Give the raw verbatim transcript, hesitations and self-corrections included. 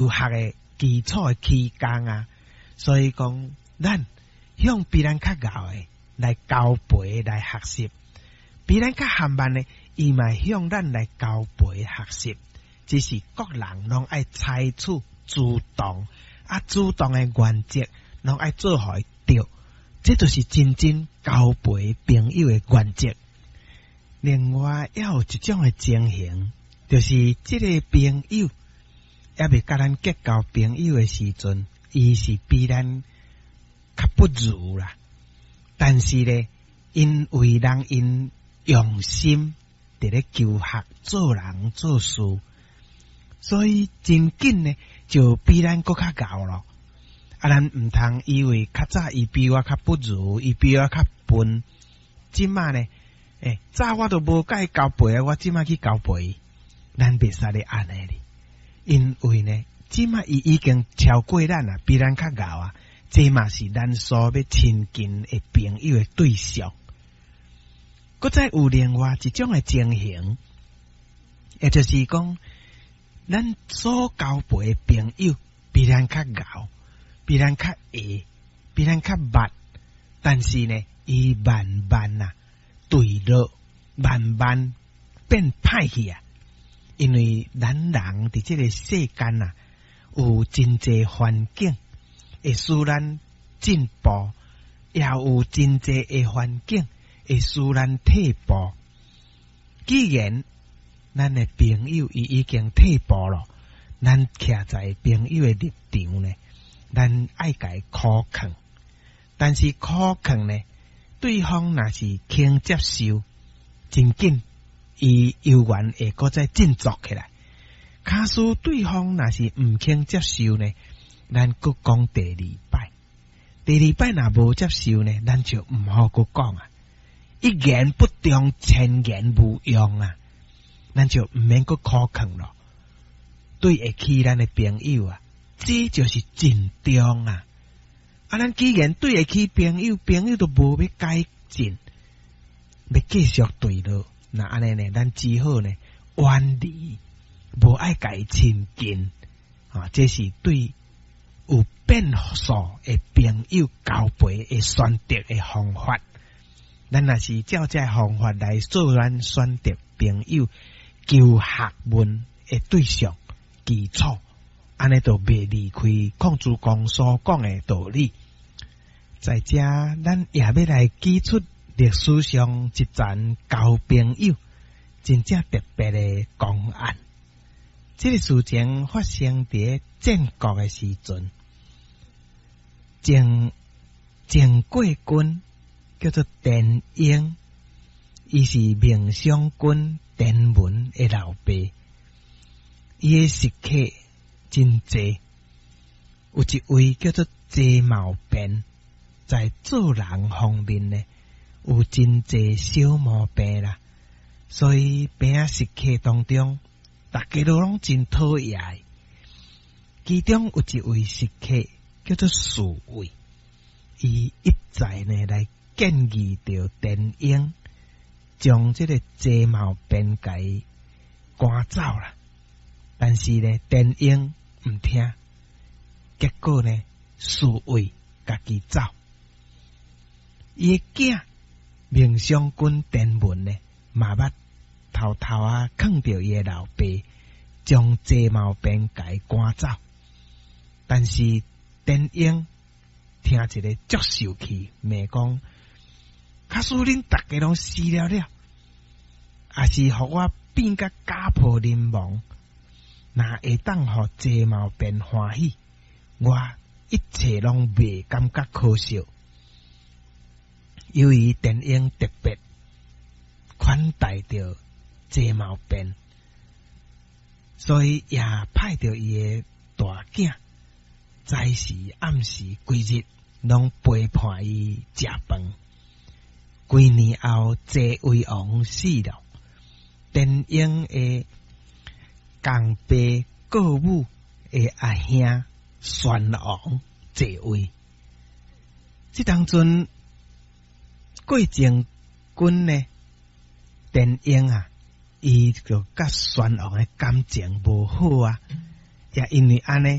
學的基礎的起工啊。所以講，咱向比咱較𠢕的來交陪來學習，比咱較含慢的，伊嘛向咱來交陪學習。只是各人攏愛採取主動，啊，主動的原則攏愛做予伊對，這就是真正交陪朋友的原則。另外，猶有一種的情形，就是這个朋友猶未佮咱結交朋友的時陣，伊是比咱較不如啦。但是咧，𪜶為人𪜶用心佇咧求學做人做事，所以真緊呢就比咱閣較𠢕咯。啊，咱毋通以為較早伊比我較不如，伊比我較笨，這馬呢？欸，早我都無佮伊交陪啊，我這馬去交陪，咱袂使咧按呢哩，因為呢，這馬伊已經超過咱啊，比咱較𠢕啊，這嘛是咱所欲親近的朋友的對象。閣再有另外一種的情形，也就是講，咱所交陪的朋友比咱較𠢕，比咱較會，比咱較捌，但是呢，伊慢慢啊墜落，慢慢變歹去啊！因為咱人佇這个世間啊，有真濟環境會使咱進步，也有真濟的環境會使咱退步。既然咱的朋友伊已經退步咯，咱徛在朋友的立場呢，咱愛共伊苦勸，但是苦勸呢，對方若是肯接受，真緊伊猶原會閣再振作起來。假使對方若是毋肯接受呢，咱閣講第二擺，第二擺若無接受呢，咱就毋好閣講啊。一言不中，千言無用啊，咱就毋免閣苦勸咯。對會起咱的朋友啊，這就是真重啊。啊，咱既然對會起朋友，朋友都無欲改進，欲繼續墜落，那按呢呢，咱只好呢遠離，無愛共伊親近啊。這是對有變數的朋友交陪的選擇的方法。咱若是照這方法來做咱選擇朋友求學問的對象基礎，按呢就袂離開孔子公所講的道理。在這，咱也欲來舉出歷史上一層交朋友真正特別的公案。這个事情發生佇戰國的時陣，鄭鄭國君叫做田嬰，伊是孟嘗君田文的老爸，伊的食客真濟，有一位叫做謝茂便，在做人方面呢，有真濟小毛病啦，所以邊仔食客當中，大家都攏真討厭。其中有一位食客叫做侍衛，伊一再呢來建議著田嬰，將這个謝茂便共伊趕走啦。但是呢，田嬰毋聽，結果呢，侍衛家己走。伊的囝孟嘗君田文呢，嘛捌偷偷仔勸著伊的老爸，將謝茂便共伊趕走。但是田嬰聽一个足受氣，罵講：假使恁逐家攏死了了，抑是予我變甲家破人亡，若會當予謝茂便歡喜，我一切攏袂感覺可惜。由於田嬰特別款待著謝茂便，所以也派著伊的大囝，早時暗時規日攏陪伴伊食飯。幾年後，謝威王死了，田嬰的共爸顧母的阿兄宣王繼位。這當陣過前君呢，田嬰啊，伊就佮宣王的感情無好啊，也因為按呢。